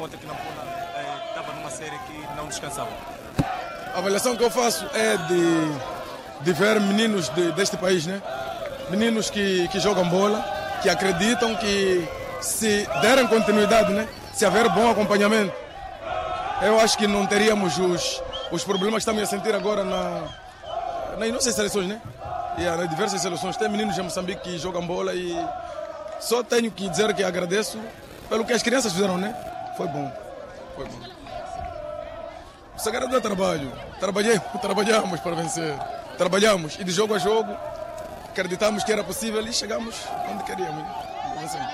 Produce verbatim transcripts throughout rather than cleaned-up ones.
Ontem que não pula, eh, tava numa série que não descansava. A avaliação que eu faço é de, de ver meninos de, deste país, né? Meninos que, que jogam bola, que acreditam que se derem continuidade, né? Se haver bom acompanhamento, eu acho que não teríamos os, os problemas que estamos a sentir agora na, nas nossas seleções, né? E nas diversas seleções. Tem meninos de Moçambique que jogam bola e só tenho que dizer que agradeço pelo que as crianças fizeram, né? Foi bom. Foi bom. O segredo é trabalho. Trabalhei, trabalhamos para vencer. Trabalhamos e de jogo a jogo acreditamos que era possível e chegamos onde queríamos. Vencemos.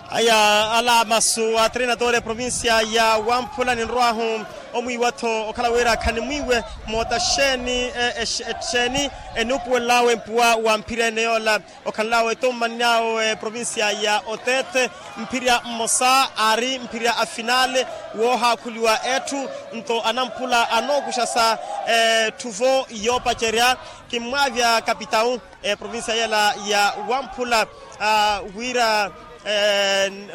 Aya, ala masu a treinador e provincia ya wamphula ninrwahu omwiiwa-tho okhala wira khanimwiiwe moota xeeni, exeeni enuupuwelelawe mpuwa wa mphirya ene yoola okhanlawe tommani awo e provincia ya otete. Mphirya mmosa aari mphirya a finale woohaakhuliwa etthu. Nto anamphula anookuxa sa etthu-vo yoopacerya kimmwaavya kapitawu e provincia yela ya wamphula wira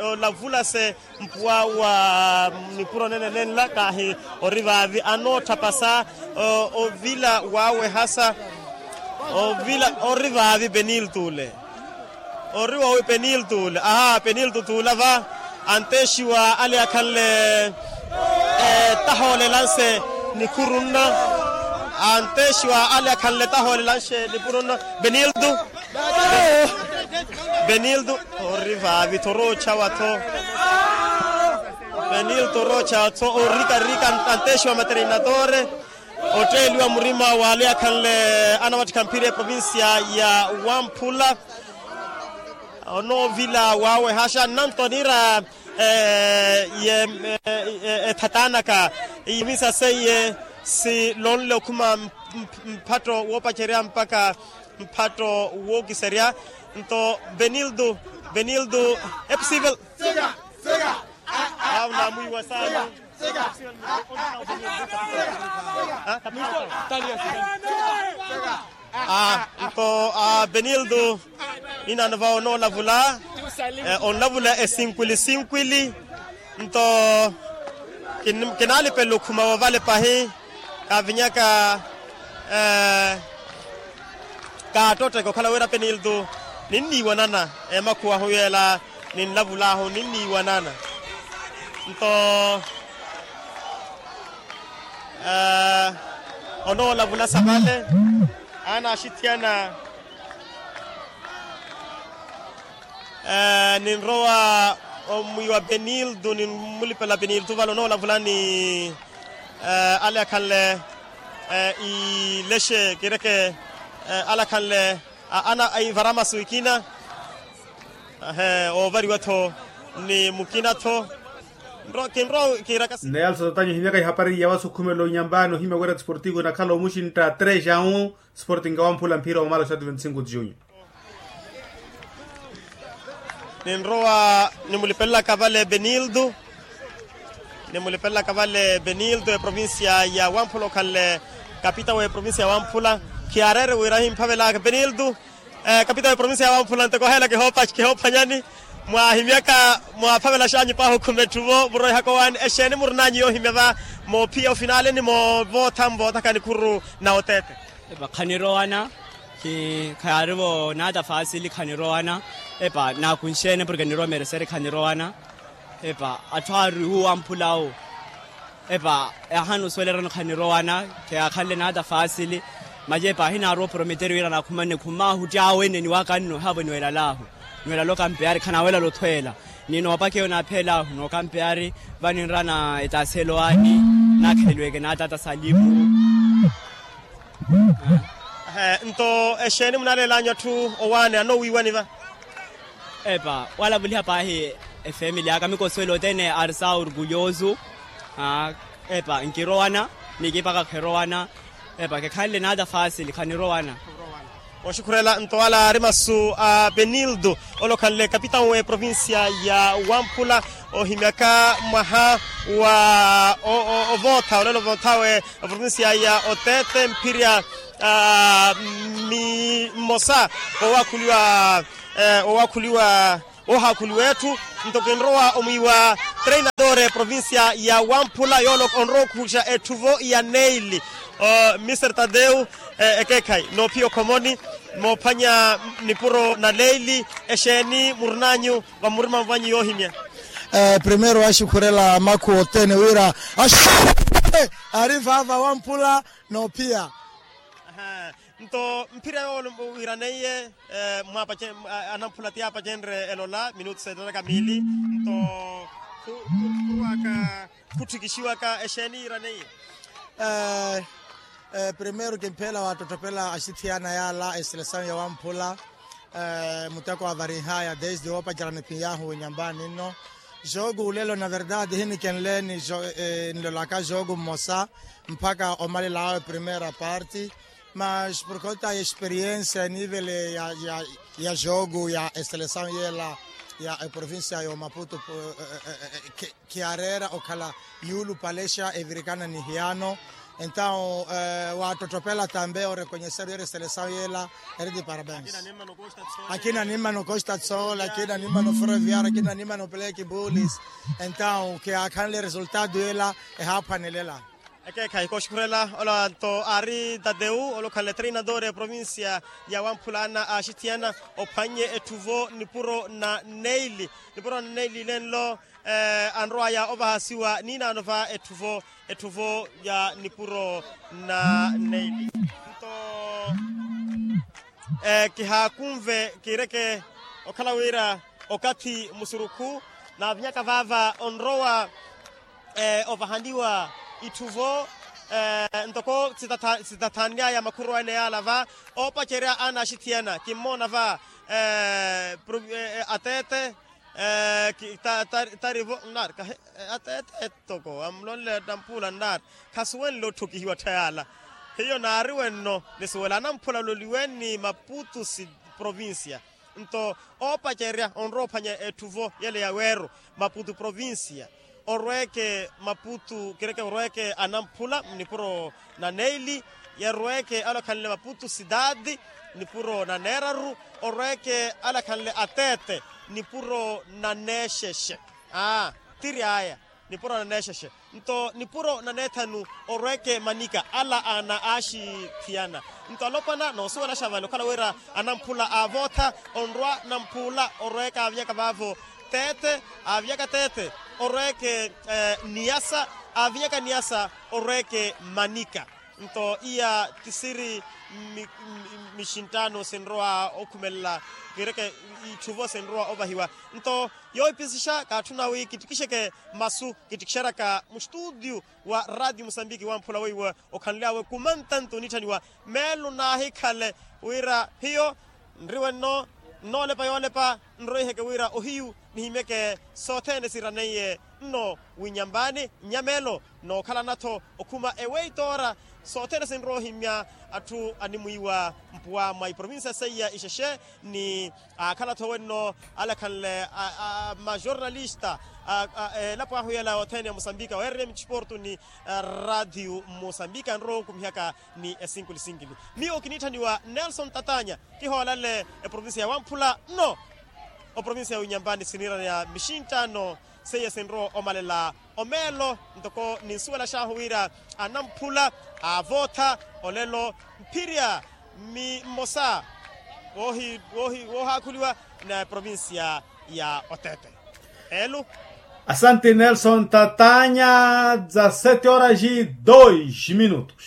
olavulase mpuwa wa nipuro nene nenla kaahi ori vaavi anootthapasa ovila waawehasa. Ovila ori vaavi peniltu ole. Ori vaavi peniltu ole aha peniltu tuula va. Antexiwa ale akhanle tahoolelanse nikhurunna. Antexiwa ale akhanle tahoolelanse nikhurunna peniltu. Benildo ori vaavi-tho oroochawa-tho. Benildo oroochawa-tho orika rika antexiwa materinatore. Otteeliwa murima waale akhanle anawattikha mphiri eprovincia ya wamphula. Onoovila waawehaxa nnanto niira ethatanaka iwisa seiye silonle okhuma mphatto woopacerya mpakha mphatto wookiserya. Nto benildo benildo epsivel. Aunamwiiwa saani. Nto benildo inano va onoolavula onlavula esinkwili sinkwili. Nto kinaalipela okhuma woovale pahi kaavinyaka kaattotteke okhala wira penildo ninniiwanana emakhuwahu yeela ninlavulaahu ninniiwanana. Nto onoolavulasa vale anaaxithiyana. Ninrowa omwiiwa penildo ninmulipela penildo vale onoolavula ni ale akhanle ilexe kireke ale akhanle ana ivara masu ikina. Oovariwa-tho ni mukina-tho. Kinrowa kiiraka si neyalso tatanyu ohimyaka ihapari ya wasukhumela onyambaani ohimya wira tisportivo enakhala omuxintta trejão. Sporting wamphula mphira wamala oxati venticinco de junho. Ninrowa nimulipelelaka vale benildo. Nimulipelelaka vale benildo eprovincia ya wamphula okhanle kapita wa eprovincia ya wamphula. Khiyaareere wira himphavelaka benildo kapita wa eprovincia ya wamphula ntoko oheela kihoophanyani. Mwaahimyaka mwaaphavelaxanyu paahi okhuma etthu-vo muroihaka owaani exeeni murinanyu yoohimya va moophiya ofinale ni moovootha muvoothaka nikhuru na oteete. Epa khanirowana. Khayaari-vo naata faasili khanirowana. Epa naakunxeene porke nirowa mereseri khanirowana. Epa atthu aari wuwo amphula awo. Epa yaahana osuwela erano khanirowana. Kheyaakhanle naata faasili. Maye epa ahinaarowa oprometer wira naakhumanne khumaahutti awo ene niwaka nno ehaavo niwelalahu. Nwelalo okampeyari khanaawelalo othweela. Ni noopakeya onaapheelahu nookampeyari. Vaninrana etaaselo aani naakheleliweke naatata salimu. Nto exeeni munaaleelanyu atthu owaani anoowiiwani va? Epa walavuliha paahi efemili aka mikosuwela othene ari sa orgulyosu. Epa nkirowana ni kipaka khirowana. Epa kekhanle naata faasili khanirowana. Oxukhurela nto ala ari masu a benildo ole okhanle kapitau eprovincia ya wamphula ohimyaka mwaha wa ovootha olelo ovoothawe. Eprovincia ya otete mphirya mmosa wowakhuliwa wowakhuliwa woohaakhuliwa etthu. Nto kinrowa omwiiwa treinador provincia ya wamphula yooloko onrowa okhuxa etthuvo ya neili. Mister tadeu, ekeekhayi noophiya okhomoni moophwanya nipuro na leili, exeeni murun'anyu vamurima mvanyu yoohimya? Primeiro axukhurela makhu othene wira axukhurele ari vava wamphula noophiya. Nto mphira yoowo wiraneiye, mwapace anamphula ti apacenre elola minutu setaraka miili. Nto khurwaka khutthikixiwaka exeeni yiraneiye? Primeiro kimpheela waattottopela axithiyana yaala eselesawu ya wamphula. Muteko wa varinhaya desde woopacerya niphiyahu winyambani nno. Jogo ulelo na verdade hinikenle ni nlolaka jogo mmosa mpakha omalela awe primeira parte. Mas por conta ya experiência nivele ya jogo ya eselesawu yeela ya eprovincia ya omaputo, khiyareera okhala yuulupalexa evirikana ni hiyano. Entawu waattottopela tambe orekonheseru yeri eselesawu yeela. Eri ti parabens. Akina nimmana okosta tsol akina nimmana oforoviaro akina nimmana opeleki bulis. Entawu khiyaakhanle resultado yeela ehaaphwanelela. Ekeekhayi kooxukhurela ola nto aari tateu olokhanle treinador ya provincia ya wamphula ana aaxithiyana ophwannye etthuvo nipuro na neili. Nipuro na neili nenlo anrowaya ovahasiwa niinaano va etthuvo etthuvo ya nipuro na neili. Nto kihaakunve kiireke okhala wira okathi musurukhu naavinyaka vaava onrowa ovahaniwa itthuvo ntoko sitathannyaya makhurwa ene yaala va oopacerya ana axithiyana kimmoona va ateete tarivo nnaari kahi ateete toko amulonle namphula nnaari khasuwenle otthokihiwa tthayala. Hiyo naariwe nno nisuwela anamphula ololiweni maputu si provincia. Nto oopacerya onrowa ophwanya etthuvo yele ya weero maputu provincia orweeke maputu kireke orweeke anamphula nipuro na neili. Yarweeke alakhanle maputu sitaati nipuro na neeraru orweeke alakhanle ateete nipuro na neexexe. Aa tiri aya nipuro na neexexe nto nipuro na neethanu orweeke manika ala ana aaxithiyana. Nto alopwana noosuwelaxa vale okhala wira anamphula aavootha onrwa namphula orweeke aavinyaka vaavo teete aavinyaka teete orweeke niyasa aavinyaka niyasa orweeke manika. Nto iya tisiri mixinttaano sinrowa okhumelela kireke itthuvo sinrowa ovahiwa. Nto yoohipisixa kaatthuna wi kittikixeke masu kittikixeryaka mustuutiyu wa raatiyo musambiki wamphula weiwo okhanly'awe kumantanto onitthaniwa meelo naahikhale wira hiyo nriwe nno nnoolepa yoolepa nroiheke wira ohiyu nihimyeke sothene siraneiye nno winyambaani nnyamelo nookhalana-tho okhuma eweitoora sothene sinrowa ohimya atthu animwiiwa mpuwa mwa iprovincia seiya ixexe ni aakhala-tho wenno alakhanle majornalista elapo ahu yela othene ya musambika weererya mittisporto ni raatiyo musambika anrowa onkumihaka ni esinkuli sinkili. Miyo kiniitthaniwa nelson tatanya kihoolale eprovincia ya wamphula nno oprovincia ya winyambani siniirana ya mixinttaano seiya sinrowa omalela omeelo ntoko ninsuwelax'ahu wira anamphula aavootha olelo mphirya mmosa woohaakhuliwa na provincia ya otete. Elu. Asante nelson tatanya. Dezasete horas e dois minutos.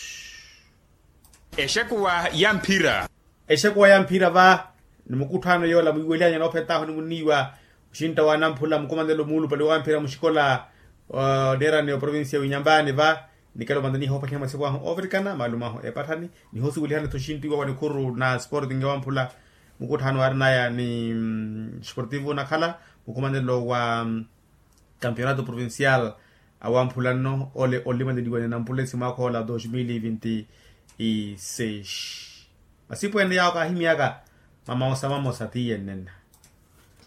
Exekuwa ya mphira. Exekuwa ya mphira va ni mukuttho ano yoola mwiiwelihanya noophetahu ni muniiwa muxintta wa anamphula mukumanelo muulupale wa mphira muxikola oneerani oprovincia ya winyambani va nikelo mantaniha oopakhiha masiku ahu ovirikana maalumo ahu epatthani nihosiwelihana-tho xintiwa wa nikhuru na sporting ya wamphula mukuttho ano aarinaya ni sportivo nakhala mukumanelo wa campeonato provincial awamphula nno ole olimaneliwa ni anamphula esi mwaakha ola dos mil vinti seis. Masipu ene yaawo kaahimyaka mamawosa mamosa tiiye nnenna.